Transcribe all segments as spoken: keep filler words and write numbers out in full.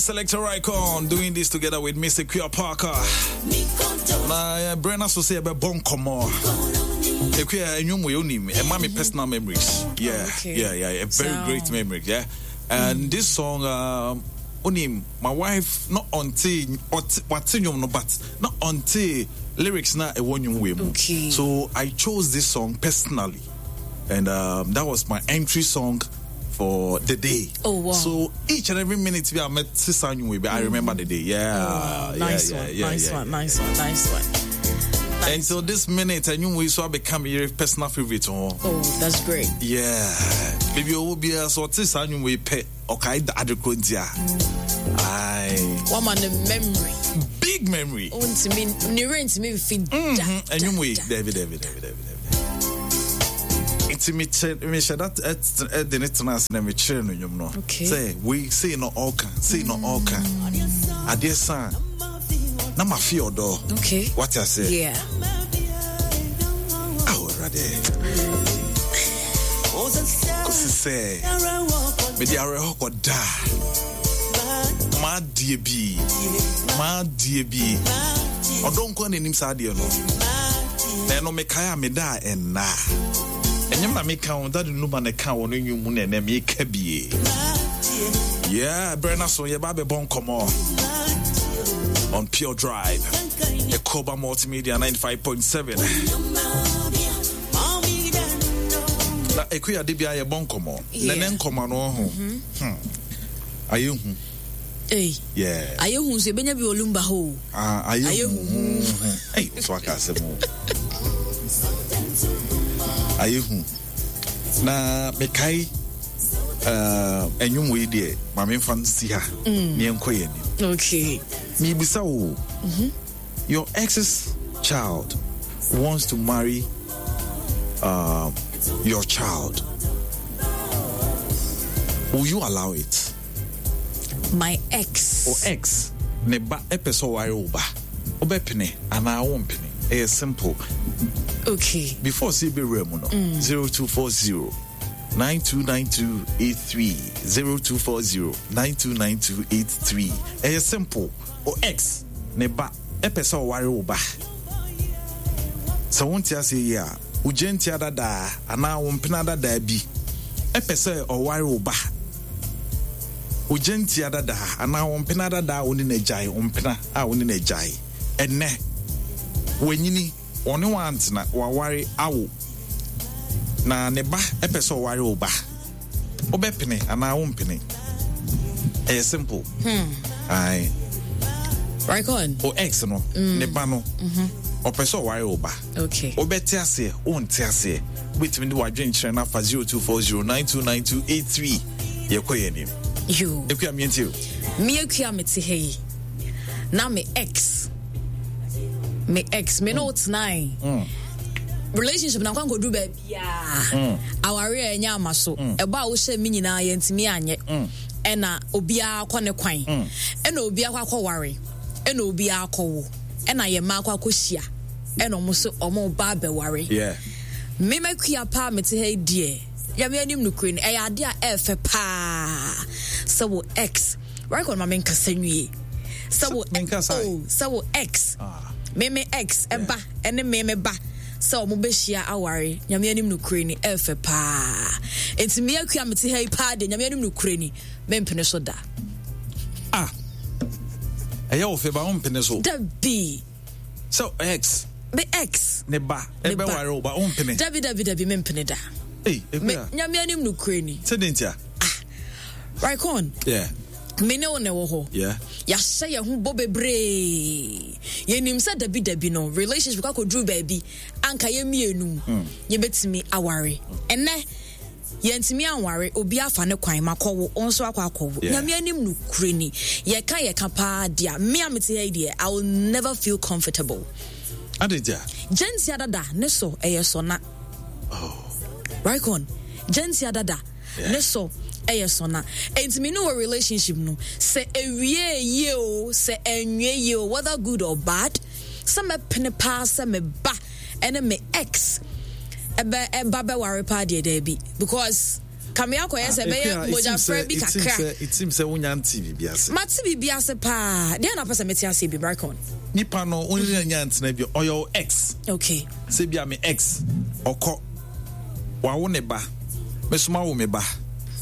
Selector Icon doing this together with Mister Kia Parker. Na Brenna so say be bon komo. Ekuya enwom we onim e ma me personal memories. Yeah. Okay. Yeah, yeah, a very So- great memory, yeah. And this song, um onim my wife not until what no, but not until lyrics na e won we mu. Okay. So I chose this song personally. And um, that was my entry song for the day. Oh, wow. So each and every minute we are met Sisan, I remember the day. Yeah. Oh, yeah, nice yeah, one, yeah, nice yeah, one, yeah. nice one, nice one. Until this minute, I knew we saw become your personal favorite. Oh, Oh, that's great. yeah. Maybe you will be a sort of Sisan we pay okay, the other Kuntia. Aye. One man, the memory. Big memory. Oh, to me, ne rent me feed. Mm-hmm. And you wait, David, David, David, David, David. Nti mehyɛ dat ɛde ne tena ase na mekyerɛ no nnwom no Okay. sɛ wei sei no ɔka sei no ɔka adeɛ sa na mafe ɔdɔ. Okay. Wate ase? Yeah. Awo Awurade, kɔsi sɛ mede awerɛhɔ kɔda maadeɛ bi maadeɛ bi ɔdɔ nko a n'anim saa adeɛ no na ɛno mekae a meda a ɛnna ɛnyɛm na meka wo dade numa na ɛka wɔ no nwum mu na ɛnɛ meka bie. Yeah, berɛ no so yɛba bɛbɔ nkɔmmɔ on Pure Drive, Ekoba Multimedia ninety-five point seven. Na Ekuya de bia yɛbɔ nkɔmmɔ na Yeah. ne nkɔmmɔ no ho hmm. Ayɛ hu. Hey. Yeah. Ayɛ hu so ebenya bi olumba ho. Ah, ayɛ Ayɛ hu hu. Ei, so aka asɛm o. Ayɛ hu na mekae uh, ɛnwom wei deɛ ma memfa nsi ha ne yɛnkɔ yɛ anim. Okay. Mebisa wo, your ex's child wants to marry uh, your child. Will you allow it? My ex. Or ex ne ba ɛpɛ sɛ ɔware wo ba, wobɛpene anaa wompene? Ɛyɛ simple. Okay. Before sɛ yɛbɛwura mu no, zero two four zero nine two nine two eight three, zero two four zero nine two nine two eight three. Ɛyɛ simple. O ex ne ba ɛpɛ sɛ ɔware wo ba. Sɛ wonte aseɛ yi a, wogye ntia dadaa anaa wo mpena dadaa bi ɛpɛ sɛ ɔware wo ba. Wogye ntia dadaa anaa wo mpena dadaa a wo ne no agyae, wo mpena a wo ne no agyae, ɛnɛ wanyini, ɔne wantena, waware awo na ne ba ɛpɛ sɛ ɔware wo ba, wobɛpene anaa wompene? Ɛyɛ simple. Ae. Record. O ex no ne ba no ɔpɛ sɛ ɔware wo ba. Okay. Wobɛte aseɛ, wonte aseɛ? Wobɛtumi de wadwenkyerɛ no afa zero two four zero nine two nine two eight three. Yɛkɔ yɛ anim. Yo. Ɛkua miɛnti o. Me akua mete ha yi. Na me ex. Me ex. Me no tenae. Relationship na nkwankɔduru baabiaa. Aware a ɛnyɛ ama so. Ɛbɔ a wohyɛ me nyinaa yɛntumi anyɛ. Ɛna obiara kɔ ne kwan. Ɛna obiara kɔ akɔware. Ɛna obiara akɔwo. Ɛna yɛ mmaa akɔ akɔhyia. Ɛna ɔmo so ɔmo ba abɛware. Yeah. Mema kua paa mete ha yi deɛ, Nyame anim nokure no, ɛyɛ ade a ɛɛfɛ paa sɛ wo ex record ma menkasa nwie sɛ wo Menkasa. Oh, sɛ wo ex, Ah. me me ex ɛba ɛne me me ba sɛ ɔmo bɛhyia aware, Nyame anim nokure ni, ɛɛfɛ paa. Enti me akua mete ha yi paa deɛ, Nyame anim nokure ni, mempene so da. Ah, ɛyɛ wo fɛ ba wompene so? Dabi. Sɛ ex Me ex ne ba Ne ba. ɛbɛware wo ba, wompene? Dabi, dabi, dabi, mempene da. Ei, Me Ekua. Nyame anim nokure ni. Sɛ de ntia? Rikon. Yeah. Me ne wo na ɛwɔ hɔ. Yeah. Yɛahyɛ yɛn ho bɔ bebree, yɛnim sɛ dabi dabi no relationship kɔ akɔduru baabi anka yɛ mmienu yɛbɛtumi aware. Ɛnɛ yɛntumi anware, obi afa ne kwan, makɔwo, wo nso akɔ akɔwo. Yeah. Nyame anim no kure ni, yɛka yɛka paa deɛ, me a mete ha yi deɛ, I will never feel comfortable. Ade ntia? Gyentia dada ne so ɛyɛ sɔna. Oh. Rikon, gyentia dada Yeah. ne so ɛyɛ sɔna. Enti me ne wɔ relationship no sɛ ewie yie o, sɛ ɛnwie yie o, whether good or bad, sɛ mɛpene paa sɛ me ba ɛne me ex ɛbɛ ɛba bɛware paa deɛ, daabi, because Kame akɔyɛ sɛ ɛbɛyɛ mogyafra bi kakra. It seems sɛ wonya nte biribi ase. Mate biribi ase paa. Deɛ na apɛ sɛ mete ase bi, Brycon? Nipa no, wo ne nya ntena bi, ɔyɛ wo ex. Okay. Sɛ bia me ex, ɔkɔ, wawo ne ba, me so mawo me ba.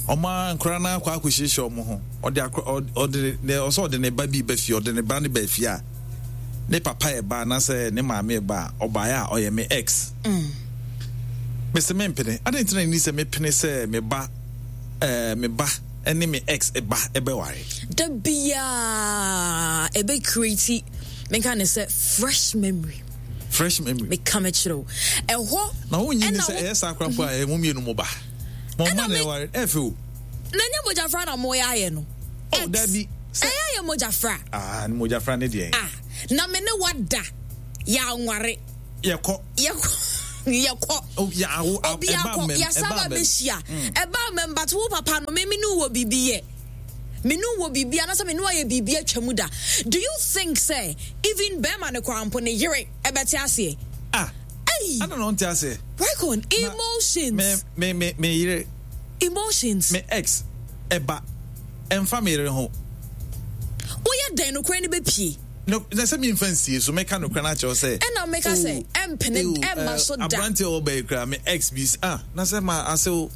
Ɔma nkora no akɔ akɔhyehyɛ ɔmo ho. Ɔde akɔ, ɔde ne, ɔsɛ ɔde ne ba bi ba fie, ɔde ne ba ne ba fie a, ne papa yɛ ba anaasɛ ne maame yɛ ba a, ɔbaeɛ a ɔyɛ me ex. Mm. Mese mempene. Adɛn nti na ɛni sɛ mepene sɛ me ba, eh, me ba ne me ex ba ɛbɛware? Da biaa ɛbɛ create, menka ne sɛ fresh memory. Fresh memory. Meka mekyerɛ wo. Ɛhɔ. Na wonyi ni sɛ ɛyɛ saa koraa mpo a, ɛyɛ mo mmienu mo ba. Mo mma na ɛware, ɛfɛ o. Na nyɛ mogyafra na moyɛ ayɛ no. Oh, dabi. Ɛyɛ ayɛ mogyafra. Ah, ne mogyafra ne deɛ. Ah, na me ne wada yɛanware. Yɛkɔ. Yɛkɔ. Yɛkɔ. Oh, ya, awo, Obi akɔ, yɛsa ba bɛhyia. Ɛba mmɛm, but wo papa no, me me ne wɔ biribi yɛ. Me ne wɔ biribi, anaasɛ me ne wayɛ biribi atwa mu da. Do you think sɛ even bɛrima no koraa mpo ne yere ɛbɛte aseɛ? Ah. Hey. Ana na ɔnte aseɛ. Reckon, emotions. Me, me, me, me yere. Emotions. Me ex, ɛba, ɛmfa me yere ho. Woyɛ dɛn nokorɛ no bɛpie? No, na sɛ memfa nsie so, mɛka nokorɛ no akyerɛ wo sɛ. Ɛna mɛka sɛ, ɛmpene, ɛmma so da. Aberanteɛ a ɔba yi koraa, me ex bi, ah, na sɛ ma asew,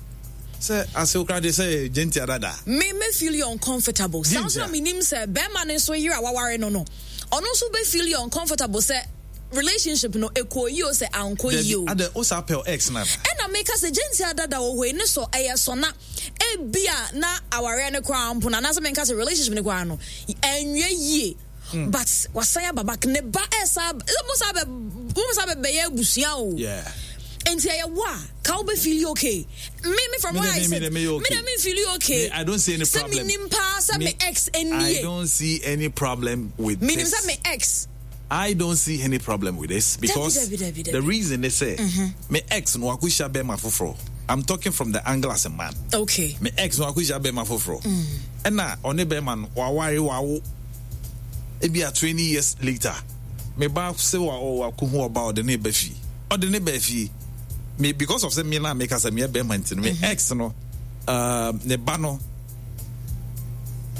sɛ asew koraa de sɛ gyentia dada. Me, me feel uncomfortable. Saa nso na menim sɛ bɛrima no nso yere a waware no no, ɔno nso bɛ feel uncomfortable sɛ relationship no ɛkɔ yie o sɛ ankɔ yie o. Dabi, adɛ, wo saa pɛ ex no ana? Ɛna meka sɛ gyentia dada wɔ hɔ yi, ne sɔ, ɛyɛ sɔna. Ebia na awareɛ no koraa mpo no, anaasɛ menka sɛ relationship no koraa no, ɛnwie yie. Mm. But wasan aba back, ne ba ɛsa, mo sa bɛ, mo sa bɛ bɛyɛ abusua o. Yeah. Nti ɛyɛ wo a, ka wo bɛ feel okay. Me me from where I sit, me de me feel okay. Me, I don't see any problem. Sɛ me nim paa sɛ me ex nie. I don't see any problem with me this. Me nim sɛ me ex. I don't see any problem with this because Dabi, dabi, dabi, dabi. the reason is say mm-hmm. me ex no akohyia bɛrima foforɔ. I'm talking from the angle as a man. Okay. Me ex no akohyia bɛrima foforɔ. Ɛna ɔne bɛrima no waware wawo. Ebi a twenty years later, me ba se wa o wakohu ɔba ɔde ne ba fie. Ɔde ne ba fie. Me because of say me na me kasa me bɛrima nti no me mm-hmm. ex no uh, ne ba no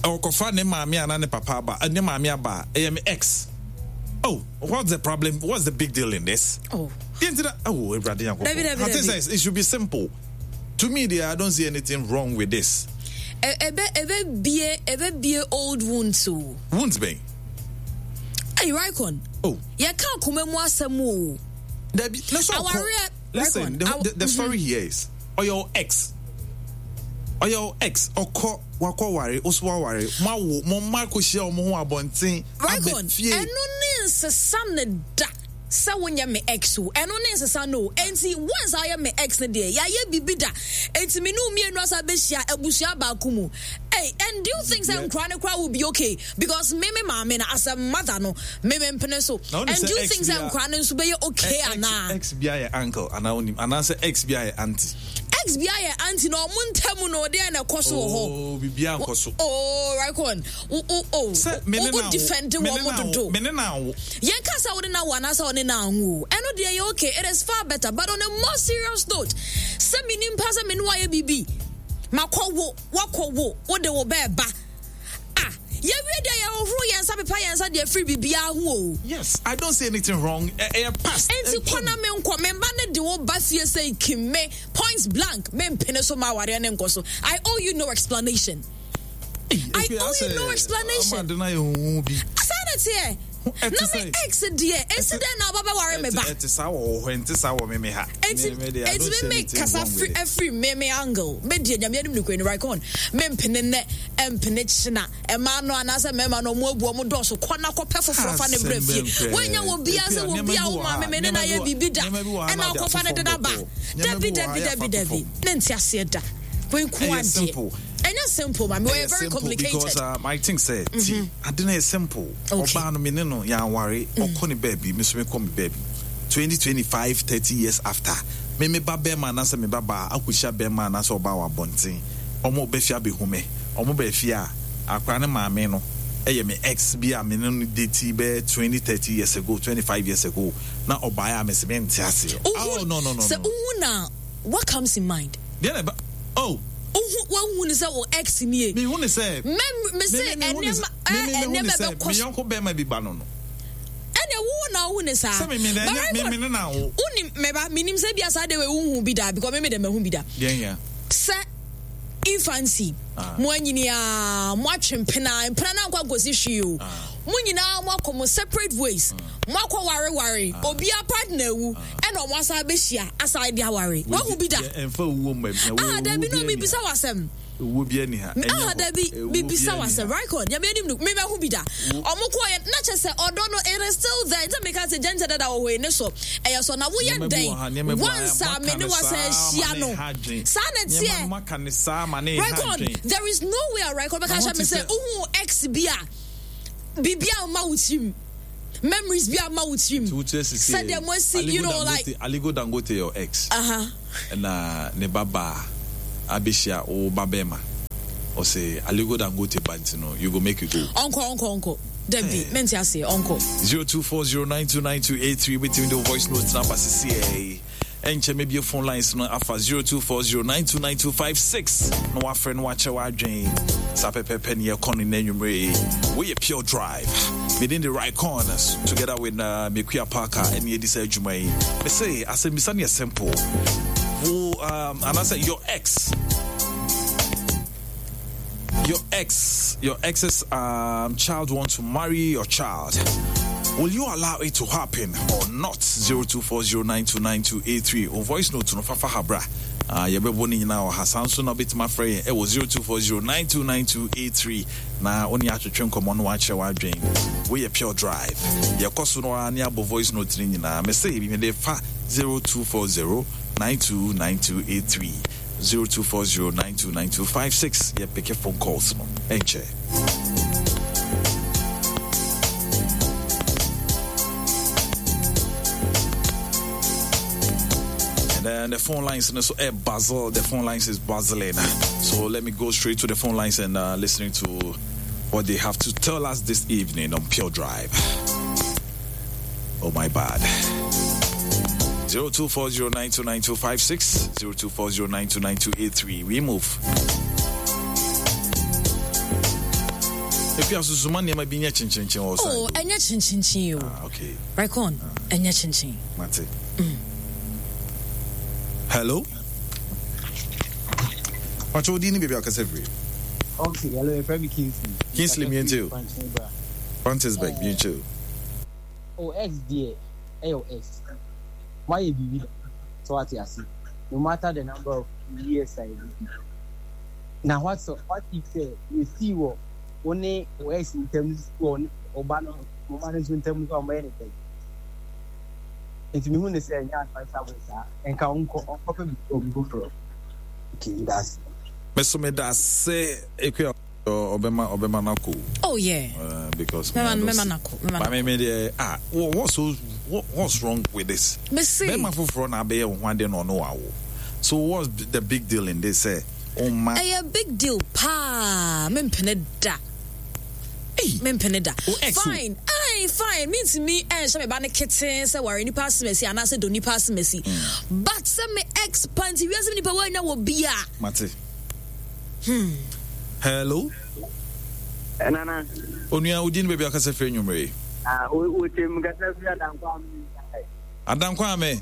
ɔkɔfa ne maame ana ne papa aba ne maame aba ɛyɛ me ex. Oh, what's the problem? What's the big deal in this? Oh. Oh, everybody. I think it should be simple. To me, dear, I don't see anything wrong with this. Ebe ebe bie ebe bie old wounds o. Wounds bɛn? Hey, Rikon. Oh. Yɛka akoma mu asɛm o. Dabi, na so Awareɛ. Listen, the, the, the story mm-hmm. here is, or your ex, or your ex, ɔkɔ wakɔ ware, oso waware, mo awo, mo mma akɔhyia ɔmo ho abɔnten, Rikon, abɛ fie. ɛno ne nsesa ne da sɛ wonyɛ me ex o. Ɛno ne nsesa no o. Enti once a woyɛ me ex no deɛ, yɛayɛ biribi da. Enti me ne wo mmienu asa bɛhyia abusua baako mu. Hey, and do you think sɛ nkora no koraa will be okay? Because me me maame no as a mother no, me me mpene so. Na And do you think sɛ nkora no nso bɛyɛ okay anaa? Ex bi ayɛ uncle anaa onim anaasɛ ex bi ayɛ auntie. Ex bi ayɛ auntie na ɔmo ntam no deɛ na ɛkɔ so wɔ hɔ. Oh, biribiara nkɔ so. Oh, right on. Wo wo oh. Sɛ me ne wo na defend wo, me ne wɔn na wo, dodo. me ne na wo. Yɛn ka sɛ wode na wo anaasɛ ɔne na anwo. Ɛno deɛ yɛ okay. It is far better. But on a more serious note, sɛ me nimpa sɛ me ne wayɛ biribi, makɔ wo, wakɔ wo, wode wo bɛɛ ba. Ah, yɛwie deɛ yɛhohoro yɛn nsa pepa yɛn nsa deɛ firi biribiara ho o. Yes, I don't see anything wrong. Ɛyɛ past. Enti kɔ na me nkɔ, me mba ne de wo ba fie sɛ kim me point blank, me mpene so ma awareɛ ne nkɔ so. I owe you no explanation. I owe you no explanation. Ama de na yɛ huhu bi. Saa na teɛ. Na me ex deɛ, esi dɛn na ɔba bɛware me ba? Ɛte saa wɔ hɔ, ɛnte saa wɔ me me ha. Enti enti me me kasa firi afiri me me angle. Me deɛ Nyame anim nokura ni right on. Me mpene nnɛ, ɛmpene kyena. Mmaa no anaasɛ mmarima no ɔmo abu ɔmo dɔɔso kɔ na kɔpɛ foforɔ fa ne brɛ fie. Woanya wɔ bia sɛ wɔ bia wo maame me ne na yɛ biribi da ɛna akɔfa ne de na ba. Dabi dabi dabi dabi. Ne nte aseɛ da. Wei nko adeɛ. Ɛnyɛ simple, ma me wɔyɛ very complicated. Because um, I think sɛ ti ade no yɛ simple. Ɔbaa no me ne no yɛanware, ɔkɔ ne baabi, me nso mekɔ me baabi. twenty, twenty-five, thirty years after, me me ba bɛrima anaasɛ me ba baa akɔhyia bɛrima anaasɛ ɔbaa wɔ abɔnten, ɔmo bɛ fie abɛhu me, ɔmo bɛ fie a, akwaraa ne maame no ɛyɛ me ex bi a me ne no date bɛyɛ twenty, thirty years ago, twenty-five years ago, na ɔbaeɛ a me se mente aseɛ. Uhu, Oh, no, no, no, sɛ no. uhu na what comes in mind? Deɛ na ɛba, oh, Wohu wohu ne sɛ wo ex nie. Mehu ne sɛ. Mɛ me se ɛnneɛma ɛnneɛma bɛkɔ. Me yɔnko bɛrima bi ba no no. Ɛnna wo na wohu ne saa. Sɛ me me na me me ne na wo. Wonim mɛba menim sɛ bia saa de wei wohu bi da because me me de mahu bi da. Deɛ hia. Sɛ infancy ah. Mo anyini a mo atwe mpena mpena na nkɔ akɔsi hwee o. Ah. Mo nyinaa mo akɔ mo separate ways. Ah. Mo akɔ ware ware. Ah. Obia partner awu ɛna ɔmo asan abɛhyia asan de aware. Wahu bi da. Ɛnfa owuo mma bi. Ah, dabi no mi bisa wasɛm. Owuo bi ani ha. Ah, dabi bibisa wasɛm. Right on. Nyame anim no me mahu bi da. Ɔmo kɔ yɛ na kyɛ sɛ ɔdɔ no it is still there. Nti meka sɛ gyɛnkyɛ dada wɔ hɔ yi ne so. Ɛyɛ sɔ na woyɛ dɛn once a me ne wasan ahyia no. Saa na ɛteɛ. Right on. There is no way a right on bɛka kyerɛ me sɛ wohu ex bi a biribi a mma wo tirim. Memories bi ama wo tirim. Sɛdeɛ mo asi you know like. Aliko Dangote your ex. Uh-huh. Ɛna ne ba baa abɛhyia wo ba bɛrima. Ɔsɛ Aliko Dangote ba nti no you go make you go. Ɔnkɔ ɔnkɔ ɔnkɔ. Dabi mente aseɛ ɔnkɔ. Zero two four zero nine two nine two eight three betumi de voice note na aba sisi ɛyi. Ɛnkyɛ mebie phone lines no afa zero two four zero nine two nine two five six na wafrɛ no wakyɛ w'adwen saa pɛpɛpɛ ne yɛkɔ no n'anwummerɛ yi. Woyɛ Pure Drive medin de Raycon together with uh, Mekuya Parker ɛne yɛdi saa adwuma yi. Mese asɛmmisa no yɛ simple. Wo um, anaasɛ your ex your ex your ex's um, child wants to marry your child. Will you allow it to happen or not? zero two four zero nine two nine two eight three o voice note no fafa habra. Ah, yɛbɛbɔ ne nyinaa wɔ ha. Saa nso na wobɛtumi afrɛ yɛn ɛwɔ zero two four zero nine two nine two eight three na wo ne atwetwe nkɔmmɔ no wakyerɛ w'adwen. Woyɛ Pure Drive. Yɛkɔ so no ara ne abɔ voice note no nyinaa. Mese mede fa zero two four zero nine two nine two eight three zero two four zero nine two nine two five six. Yɛ pick phone calls no. Ɛnkyɛ. And then the phone lines, so eh, buzzle. The phone lines is buzzling. So let me go straight to the phone lines and uh, listening to what they have to tell us this evening on Pure Drive. Oh my bad. Zero two four zero nine two nine two five six zero two four zero nine two nine two eight three. We move. If you are so nneɛma bi nyɛ kyenkyenkyen wɔ Oh, ɛnyɛ kyenkyenkyen o. Ah, okay. Raycon, ɛnyɛ kyenkyen. Mate. Hello. Pacho odi ni baabi akasa firi. Okay, hello, your friend Kingsley. Kingsley mientie o. Francisburg mientie o. Oh, ex dear, eh, ex. Why you be so what you see? No matter the number of years I do. Now what so what if say you see what only ex in terms or Obama in terms of anything. Nti me hu ne sɛ ɛnyɛ advice saa nka ɔnkɔ ɔnkɔpɛ bi obi foforɔ. Okay, that's Meso me da se ekua ɔbɛma ɔbɛma nako. Oh yeah. Uh, because Mɛma mɛma nako. Mɛma But me me deɛ ah what's so what, what's wrong with this? Me se. Bɛma foforɔ na abɛyɛ wo ho ade na ɔno wawo. So what's the big deal in this? Eh, oh ma. Ɛyɛ big deal paa. Mempene da. Hey. Mempene da. Oh, ex o. Fine. Aye, fine. Mintimi ɛnhyɛ me ba ne keten sɛ ware nipa asemasi anaasɛ dɔ nipa asemasi. But sɛ me ex panti wiase nipa wanya wɔ bia. Mate. Hmm. Hello. Nana. Onua odi ni baabi akasa firi anwummere. Ah, o tem kasa firi Adankwa ame Israel. Adankwa ame.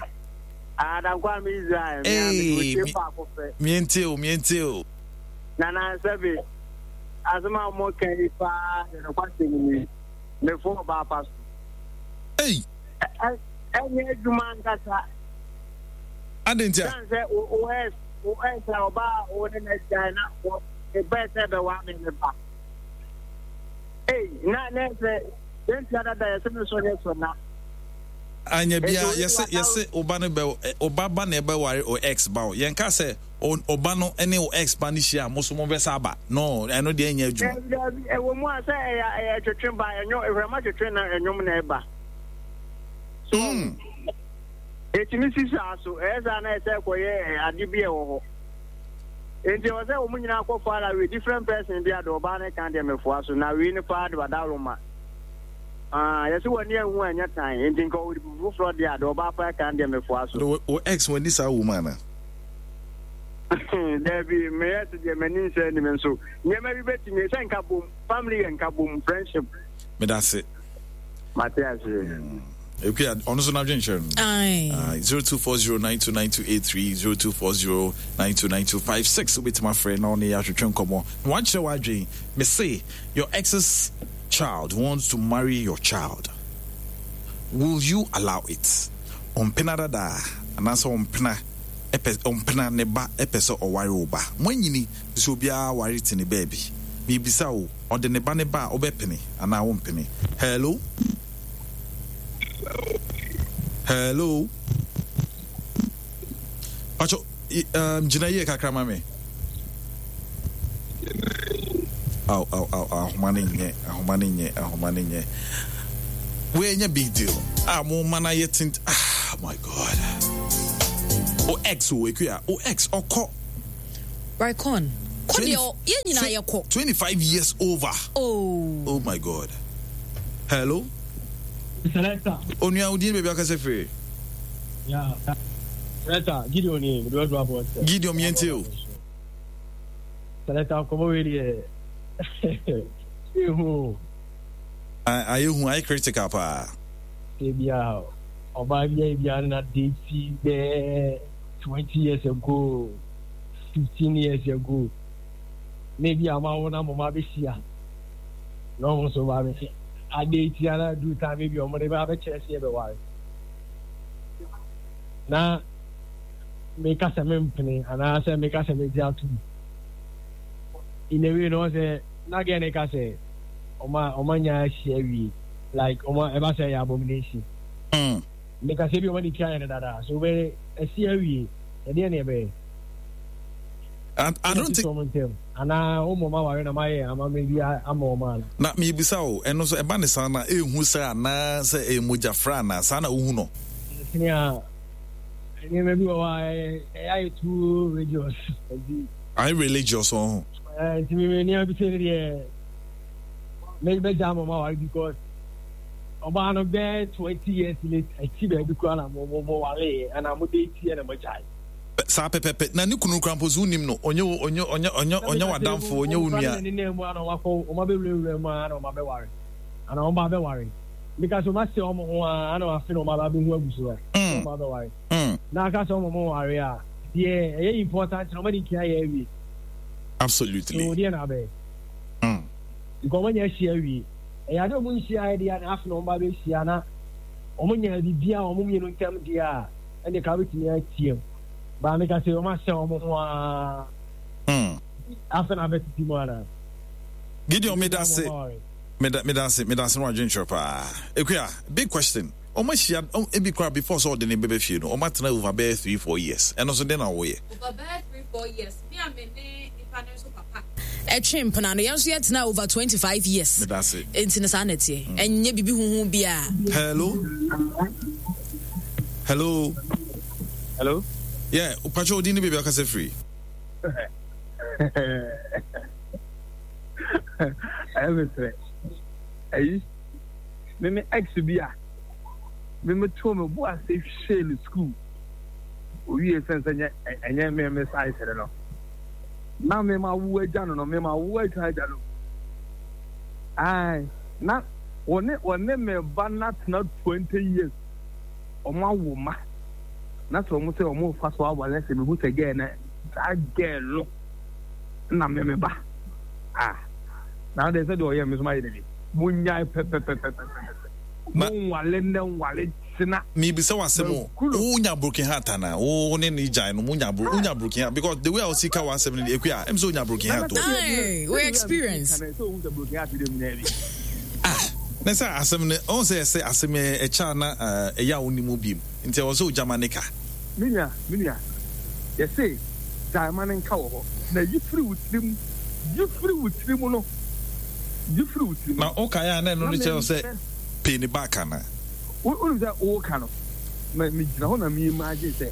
Adankwa ame Israel. Hey, Me pa ko fe. Mientie o, mientie o. Nana sɛbi asɛm a mo kan yi paa de no kwasɛm ni. Me fo ba pa so. Hey. Ɛnyɛ adwuma ankasa. Ade ntia. San sɛ o o ex o ex a ɔba a o ne na gyae na o ɛbɛɛ sɛ bɛwa me me ba. Ei, na na sɛ yɛntua dada yɛsɛ me so nyɛ so na. Anya bia Enti, yɛse yɛse ɔba no bɛ ɔba ba na ɛbɛware o ex ba o. Yɛnka sɛ ɔba no ne o ex ba no hyia a mo so mo bɛsa aba. No, ɛno deɛ ɛnyɛ adwuma. Dabi dabi ɛwɔ mu a sɛ ɛyɛ ɛyɛ twetwe ba ɛnwo ehwɛma twetwe na ɛnwom na ɛba. So Mm. etumi si saa so ɛyɛ saa na ɛsɛ kɔyɛ ade bi a ɛwɔ hɔ. Enti ɛwɔ sɛ wɔn nyinaa kɔ far away different person bi a de ɔbaa ne kan deɛ mɛfoa so na wei ne paa de wadaworo ma. Ah, yɛsɛ wɔn ani ehu a ɛnyɛ tan enti nka ɔwɔ foforɔ deɛ a de ɔbaa paa kan deɛ mɛfoa so. O o ex wɔn ni saa woman na. Dabi, meyɛ sɛ deɛ m'ani nsɛ anim nso nneɛma bi bɛtumi sɛ nka bom, family yɛ nka bom, friendship. Meda ase. Mate aseɛ. Ekuya, ɔno nso n'adwenkyerɛ no. Zero two four zero nine two nine two eight three zero two four zero nine two nine two five six. Wobɛtumi afrɛ na ɔne yɛ ahwehwɛ nkɔmmɔ na wakyerɛ w'adwen. Me se your ex's child wants to marry your child. Will you allow it? Ɔmpena dadaa anaasɛ ɔmpena ɛpɛ ɔmpena ne ba ɛpɛ sɛ ɔware wo ba. Moanyini sɛ obiara ware te ne baabi. Mebisa wo, ɔde ne ba ne ba a wobɛpene anaa wompene? Hello? Hello? Pacho, um, gyina yie kakra ma me. Aw, aw, aw, ahoma no nyɛ, ahoma no nyɛ, ahoma no nyɛ. Wei nyɛ big deal. Ah, mo ma no ayɛ tint. Ah, my God. O ex o, Ekuya, o ex, ɔkɔ. Raycon. Kɔ deɛ yɛn nyinaa yɛ kɔ. Twenty-five years over. Oh. Oh my God. Hello. Selector. Onua odin baabi akasa firi. Yeah. Selector Gideon ni mi dúró abọ́ ọ̀sẹ̀. Gideon yẹn ti o. Selector nkɔmɔ wei deɛ ehu. Ayɛ hu ayɛ critical paa. Ebi a ɔbaa bi a ebi a na date bɛɛ twenty years ago. fifteen years ago na ebi a ɔmo na mo ma abɛhyia na ɔmo nso ba abɛhyia ade etia na du time ebi ɔmo de ba abɛkyerɛ sɛ yɛbɛware na meka sɛ mempene anaasɛ meka sɛ megye atom in a way no sɛ na gɛ ne ka sɛ ɔma ɔma nya ahyia wie like ɔma ɛba sɛ ɛyɛ abomination mm. meka sɛ bi ɔma de tua yɛ no dada so wobɛ asi awie ɛdeɛ ne ɛbɛyɛ I, I don't think. Anaa wo mom aware na mayɛ amammerɛ bi ama wɔn ana? Na mebisa o, ɛno nso ɛba ne saa na ɛnhu sɛ anaa sɛ ɛyɛ mogyafra anaa saa na wohu no? Sene a nneɛma bi wɔ hɔ a ɛyɛ ayɛ too religious. Ayɛ religious wɔ ho. Nti me nneɛma bi sɛ ne deɛ mɛgya ama ma aware because ɔbaa no bɛɛ twenty years late akyi baabi koraa na mo mo mo ware ɛna mo de ti ɛna mo gyae. Saa pɛpɛpɛ na ne kunu koraa mpo so wonim no ɔnyɛ wo ɔnyɛ ɔnyɛ ɔnyɛ ɔnyɛ w'adamfo ɔnyɛ wo nua. Ne nan mu ana wakɔ wɔn abɛwurawura mu ana wɔn abɛware ana wɔn ba abɛware because wɔn asɛ wɔn ho a ana wɔn afe na wɔn aba abɛhu abusua wɔn ba abɛware na aka sɛ wɔn mo ware a deɛ ɛyɛ important na wɔn adi nkia yɛ awie. Absolutely. So deɛ na abɛyɛ. Because wɔn anya ahyia awie ɛyɛ ade wɔn nhyia ayɛ deɛ na afe na wɔn ba abɛhyia na wɔn nya biribi a wɔn mmienu ntam deɛ a. Ɛnde ka wobɛtumi ateam. Baa meka sɛ wɔn ahyɛ wɔn ho ara. Afei na abɛtete mu anaa? Gideon meda ase meda meda ase meda ase no adwenkyerɛ paa. Ekuya big question wɔn ahyia ebi koraa before sɛ ɔde ne bɛbɛ fie no wɔn atena over bɛyɛ three four years ɛno nso den na wɔyɛ. Over bɛyɛ three four years me a me ne nipa no nso papa ɛtwe mpena no yɛn nso yɛtena over twenty five years. Meda ase. Nti no saa na ɛteɛ ɛnyɛ bibi huhu biara. Hello. Hello. Hello. Yeah, Pacho Odin baby akasa free. Ɛyɛ me srɛ. Ayi, me me ex bi a, me me to me bo ase hwɛ ne school. Owie sɛ sɛ nyɛ ɛnyɛ me me size no. Na me ma wo agya no no, me ma wo agya agya no. Ai, na wɔne wɔne me ba na tena twenty years. Wɔn awo ma na sɛ wɔn sɛ wɔn fa so aware sɛ mehu sɛ gɛɛ na saa gɛɛ no na me me ba ah na de sɛ deɛ ɔyɛ me so ma yɛ ne bi mo nyae pɛpɛpɛpɛpɛ mo nwale nnɛ nwale kyena. Mebisa w'asɛm o, wonya broken heart ana? Wo ne ne gyae no, monya bro, wonya broken heart because the way a wosi ka w'asɛm no Ekuya, ɛm sɛ wonya broken heart o. Aye, we experience. Ah, na sɛ asɛm no, ɔn sɛ ɛsɛ asɛm ɛkyɛ a na ɛyɛ a wonni mu biem, nti ɛwɔ sɛ ogya ma ne ka. Me nua, me nua, yɛse gyae ma no nka wɔ hɔ, na yi firi wo tirim, yi firi wo tirim no, yi firi wo tirim. Na wokae a na ɛno no kyerɛ sɛ pay ne back ana? Wonim sɛ woka no, megyina hɔ na me imagine sɛ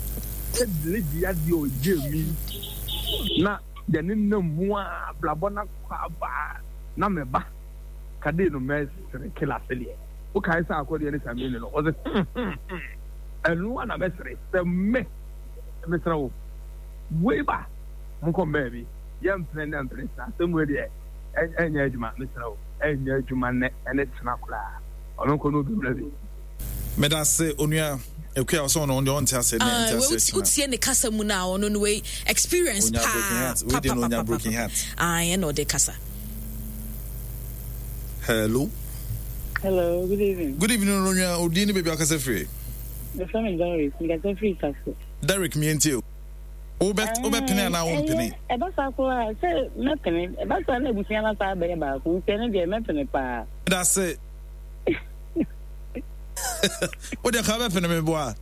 sɛ lady adeɛ ɔyɛ mi na yɛne nam mu a abrabɔ no akɔ aba na meba kade no mɛsere kila sɛdeɛ wokae sɛ akɔdeɛ ne samini no ɔsɛ hmm hmm hmm ɛno a na mɛsere sɛ me mesrɛ wo wei ba Monkɔ mbaabi. Yɛmpene nnɛ mpene kyena. Asɛm wei deɛ, ɛnyɛ adwuma. Mesrɛ wo, ɛnyɛ adwuma nnɛ ɛne kyena koraa. Ɔno nkɔ na obi mmra bi. Medase onua Akua ɔsɛ ɔno ɔno ɔnte aseɛ ne nte aseɛ kyena. Wotie ne kasa mu na ɔno no wei experience paa papa papa broken heart. Ah, ɛna ɔde kasa. Hello. Hello, good evening. Good evening, onua. Odin ne baabi akasa firi. Mefrɛ me Derek, mekasa firi Sase. Derek, mientie o. Wobɛpene anaa wompene? Ɛba saa koraa sɛ mɛpene. Ɛba saa na abusua no asan abɛyɛ baako nti ɛno deɛ mɛpene paa. Medase. Wo deɛ ka wobɛpene me boa.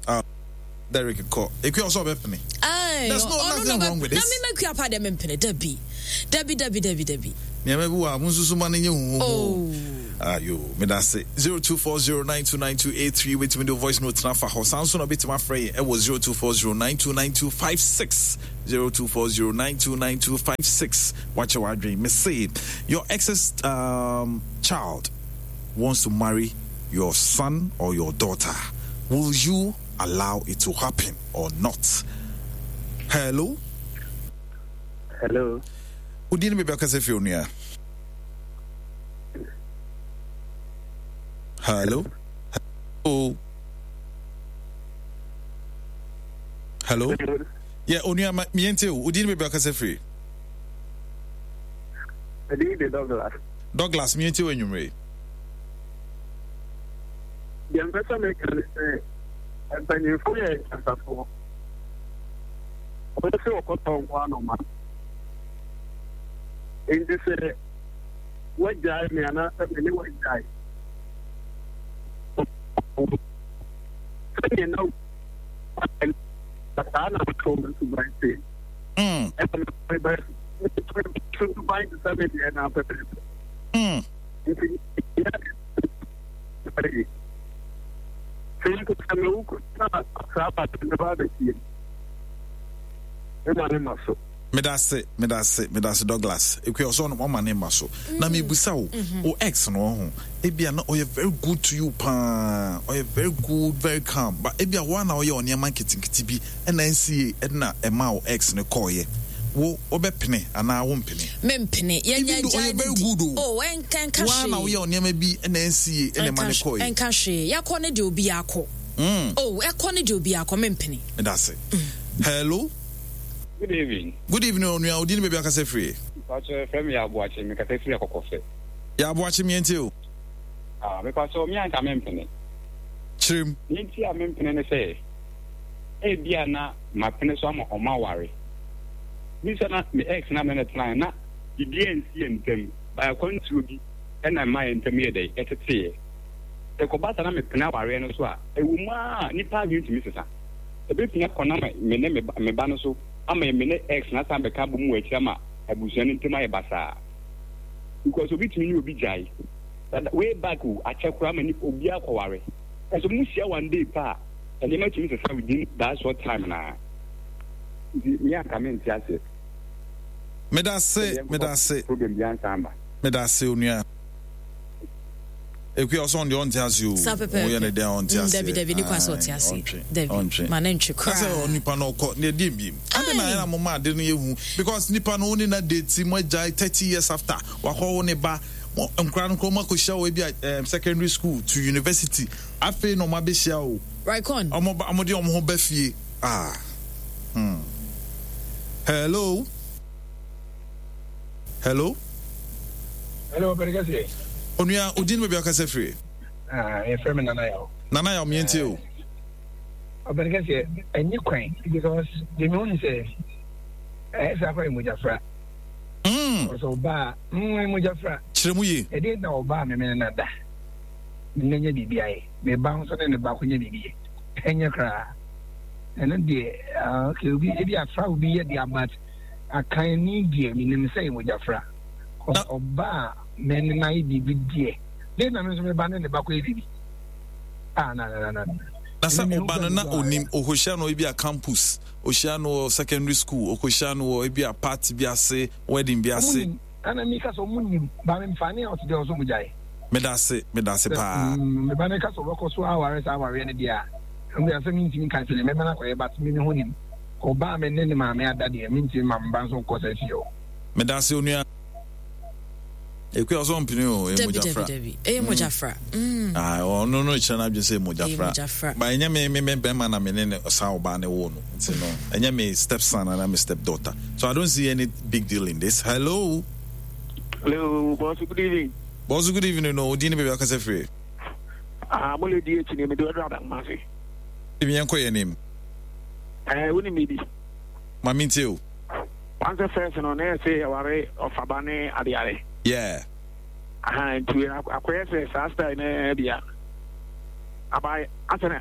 Ah, Derek kɔ. Ekua ɔsɛ ɔbɛpene. There's no nothing wrong with this. Na me makua pa deɛ mempene. Dabi. Dabi dabi dabi dabi. Nneɛma bi wɔ a monsusu ma no nyɛ huhuhu. Oh. Ayo, medase. zero two four zero nine two nine two eight three wobɛtumi de voice note na fa hɔ. Saa nso na wobɛtumi afrɛ yɛn ɛwɔ zero two four zero nine two nine two five six zero two four zero nine two nine two five six. Wakyɛ w'adwene. Mese, your ex's um, child wants to marry your son or your daughter. Will you allow it to happen or not? Hello? Hello. Wodin ne baabi akasa firi onua? Hello? Hello? Hello? Yeah, onua ma miente o. Wodin ne baabi akasa firi? Medin de Douglas. Douglas miente o anwummere. Deɛ mpɛ sɛ meka ne sɛ mpanyimfo yɛ nyansafoɔ. Wɔn sɛ wɔkɔtɔ nko anoma. Enti sɛ woagyae me anaasɛ me ne woagyae sɛdeɛ na saa na wotɔ me suban te. Ɛna meba suban te sɛ me deɛ na pɛpɛpɛ. Nti sɛ mpo sɛ mewu koraa saa bata no ba abɛsie me ma ne ma so. Medase, medase, medase Douglas. Ekua ɔsɛ ɔno ɔma ne mma so. Na mebusa wo, wo ex no ɔho. Ebia na ɔyɛ very good to you paa. Ɔyɛ very good, very calm. But ebia wo na ɔyɛ ɔnneɛma nketenkete bi ɛna nsie ɛna ɛma wo ex no kɔɔyɛ. Wo wobɛpene anaa wompene? Mempene. Even though ɔyɛ very good o. Oh, ɛnka ɛnka hwee. Wo na woyɛ ɔnneɛma bi ɛna nsie ɛna ɛma ne kɔɔyɛ. Ɛnka hwee. Yakɔ ne deɛ obi akɔ. Oh, ɛkɔ ne deɛ obi akɔ. Mempene. Medase. Hello. Good evening. Good evening, onua. Odi ni baabi akasa firi. Mpatsɔ frɛ me Yaaboakye, mekasa firi Akɔkɔfɛ. Yaaboakye mientie o. Ah, mepatsɔ me anka mempene. Kyerem. Nea nti a mempene ne sɛ, ebia na mapene so ama ɔmo aware. Bi sɛ na me ex na me ne tenae na biribi ansi yɛn ntam, by akwantuo bi ɛna ɛmaa yɛn ntam yɛ dɛn, ɛteteeɛ. Sɛ ɛkɔba saa na mepene awareɛ no so a, ɛwɔ mu ara a nnipa adwene tumi sesa. Ebetumi akɔ na me ne me ba no so ama me ne ex no asan abɛka abom wɔ akyiri ama abusua no ntam ayɛ basaa. Because obi tumi ne obi gyae dada way back o, akyɛ koraa ma nipa obiara kɔware. Ɛsɛ mo hyia one day pɛ a, nneɛma tumi sesa within that short time naa. Nti me anka me nte aseɛ. Medase, medase. Problem biara nsan aba. Medase onua. Ekuya ɔsɛ ɔno deɛ ɔnte ase o. Saa pɛpɛɛpɛ. Ɔyɛ ne dɛn a ɔnte Mm, ase. dabi dabi ne kwan sɛ ɔte ase. Ɔntwe. Dabi. Ɔntwe. Ma ne ntwe koraa. Asɛ onipa no ɔkɔ ne ɛdeɛ mbiem. Ade na ayɛ na mo ma ade no yɛ hu because nipa no wo ne na date mo agyae thirty years after wakɔ wo ne ba mo nkora no nkora mo akɔhyia wɔ ebi a um, secondary school to university afei na ɔmo abɛhyia o. Right on. Ɔmo ba ɔmo de ɔmo ho ba fie. Ah. Hmm. Hello. Hello. Hello, Pɛrɛ kɛseɛ. Onua, odin baabi akasa firi? Ah, yɛfrɛ me Nana Yaw. Nana Yaw, mientie o. Ɔpɛrɛ kɛseɛ, ɛnye kwan because deɛ mehu ne sɛ ɛyɛ saa kora yɛ mogyafra. Mm. Ɔsɛ ɔbaa, mm, mogyafra. Kyerɛ mu yie. Ɛdeɛ na ɔbaa me mene na da. Mene nyɛ biribi ayɛ. Me ba nso ne ne ba ko nyɛ biribi yɛ. Ɛnyɛ koraa. Ɛno deɛ, ah, okay, obi, ebi afra obi yɛ deɛ but akan ni deɛ menim sɛ yɛ mogyafra. Ɔba a me ne no ayɛ biribi deɛ, dɛn na me nso me ba ne ne ba kɔyɛ biribi? Ah, na, na, na, na. Na sɛ ɔba no na onim, ɔkɔhyia no ebi a campus, ɔhyia no wɔ secondary school, ɔkɔhyia no wɔ ebi a party bi ase, wedding bi ase. Ɛna mi ka sɛ ɔmo nim, ba mi nfa ne a ɔte deɛ ɔsɔ mo gyae. Meda ase, meda ase paa. Me ba no ka sɛ ɔbɛkɔ so aware saa awareɛ no deɛ a, ɛno deɛ asɛm ntumi nka sɛ mɛma no akɔyɛ, but me me ho nim. Ɔbaa me ne ne maame ada deɛ, mentumi ma me ba nso nkɔ saa fie hɔ. Meda ase onua. Ekua ɔsɛ ɔmpene o, ɛyɛ mogyafra. Dabi dabi, ɛyɛ mogyafra. Mm. Ah, ɔno no kyerɛ n'adwene sɛ mogyafra. Ba ɛnyɛ me me me bɛrima na me ne ne saa ɔbaa ne wo no. Nti no, ɛnyɛ me step son ana me step daughter. So I don't see any big deal in this. Hello. Hello, boss. Good evening. Boss, good evening. No, odi ne baabi akasa firi. Ah, mo le di akyi ne me de ɔdɔ adakumase. Ebi yɛn kɔ yɛn anim. Ɛɛ, wo ni mi bi. Maame ntie o. Wan sɛ first no na yɛsɛ yɛware ɔfaba ne adeade. Yeah. Aha, nti akɔyɛ sɛ saa style na bia. Aba asana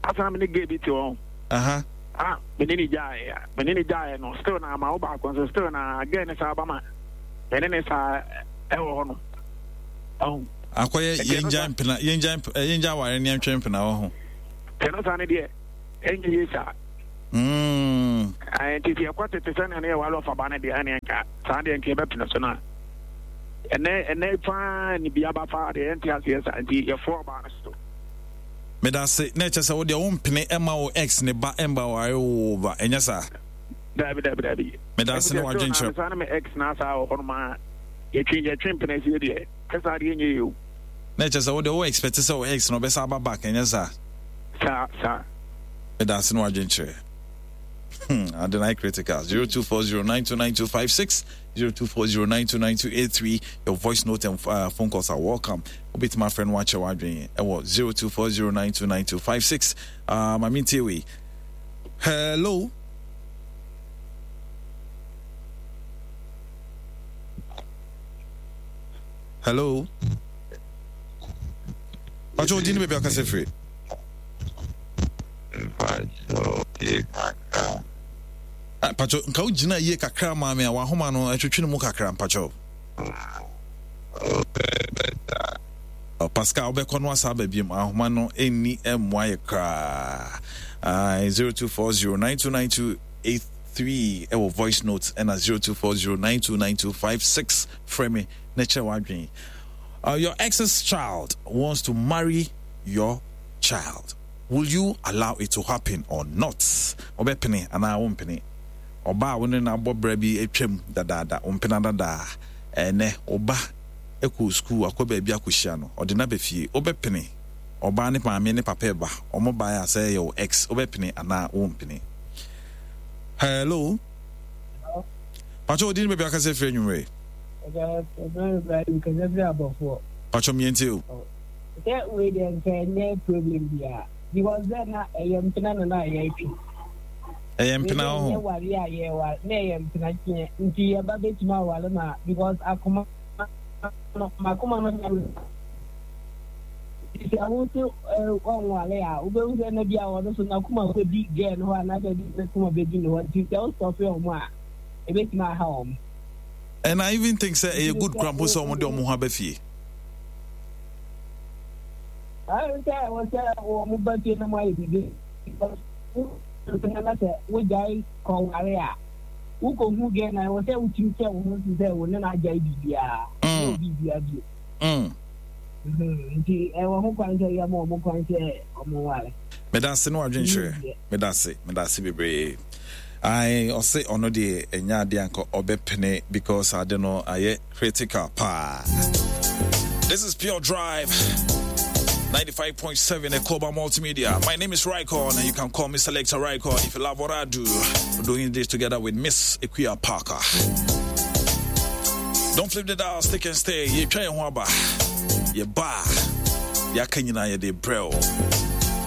asana me ne gay bi te hɔ. Aha. Ah, me ne ne gyae. Me ne ne gyae no still na ama wo baako nso still na gay ne saa ba ma. Me ne ne saa ɛwɔ hɔ no. Oh. Akɔyɛ yɛngya mpena yɛngya yɛngya aware ne yɛntwe mpena wɔ ho. Tɛno saa ne deɛ ɛnyɛ yie saa. Mm. Nti sɛ yɛkɔ tete sɛnea ne yɛware ɔfaba no deɛ ɛneɛ nka saa deɛ nka yɛbɛpene so no a ɛnɛ ɛnɛ paa ne bia ba fa deɛ yɛnte aseɛ saa nti yɛfoɔ ɔbaa no so. Meda ase na ɛkyɛ sɛ wo deɛ wompene ɛma wo ex ne ba ɛmba ware wo ba ɛnyɛ saa? Dabi dabi dabi. Meda ase ne wadwenkyerɛ. Saa ne me ex na saa wɔ hɔ nom a yɛtwe yɛtwe mpene sie deɛ kɛ saa deɛ ɛnyɛ yie o. Na ɛkyɛ sɛ wo deɛ wo expect sɛ wo ex no ɔbɛsa aba back ɛnyɛ saa? Saa saa. Meda ase ne wadwenkyerɛ. Hmm, Adonai Critical zero two four zero nine two nine two five six zero two four zero nine two nine two eight three. Your voice note and uh, phone calls are welcome. Wobɛtumi afrɛ no wakyɛ w'adwene ɛwɔ zero two four zero nine two nine two five six. Uh, Mame ntie wei. Hello. Hello. Pacho, odi ne baabi akasa firi. Ah, Pacho, nka wo gyina yie kakra maa me a wahoma no ɛtwetwe ne mu kakra mpacho. Oh, Pascal wobɛkɔ no asa aba biom ahoma no ɛnni mmoa yɛ koraa. Ah, zero two four zero nine two nine two eight three ɛwɔ voice note ɛna zero two four zero nine two nine two five six frɛ me na kyerɛ w'adwene. Uh, your ex's child wants to marry your child. Will you allow it to happen or not? Wobɛpene anaa wompene? Ɔbaa a wo ne no abɔ bra bi atwam dadaada, wo mpena dadaa, ɛnnɛ wo ba kɔɔ sukuu akɔ baabi akɔhyia no, ɔde no aba fie. Wobɛpene? Ɔbaa ne maame ne papa reba, wɔn baeɛ a sɛ ɛyɛ wo ex, wobɛpene anaa wompene? Hello? Pacho, wo din ne baabi akasa firi anwummerɛ? Pacho, mientie o. Sɛ wei deɛ nka ɛnyɛ problem biara because sɛ na ɛyɛ mpena na na yɛretwe. Ɛyɛ mpena wɔ ho. Ɛnyɛ ware a yɛware na ɛyɛ mpena kyeɛ nti yɛba bɛtumi aware ma because akoma no makoma no na sɛ wo nso ɔnware a wobɛhu sɛ na bi a ɔno so n'akoma kɔdi gɛɛ no hɔ anaasɛ bi n'akoma bɛdi ne hɔ nti sɛ wostɔfe ɔmo a ɛbɛtumi aha ɔmo. And I even think sɛ ɛyɛ good kora mpo sɛ ɔmo de ɔmo ho aba fie. Sɛ ɛwɔ sɛ wɔn ba fie na mo ayɛ biribi na sɛ wogyae kɔware a wokɔhu gɛ na ɛwɔ sɛ wotumi kyɛ wo ho so sɛ wo ne no agyae biribiaa na biribiaa bio nti ɛwɔ ho kwan sɛ yɛma ɔmo kwan sɛ ɔmo ware. Meda ase ne wadwenkyerɛ. Meda ase, meda ase bebree. Ae, ɔse ɔno deɛ ɛnyɛ adeɛ anka ɔbɛpene because ade no ayɛ critical paa. This is Pure Drive ninety-five point seven Ekoba Multimedia. My name is Rykon, and you can call me Selector Rykon if you love what I do. We're doing this together with Miss Ekuya Parker. Don't flip the dial, stick and stay. You try and waba. You ba. Ya kanyina ya de brel.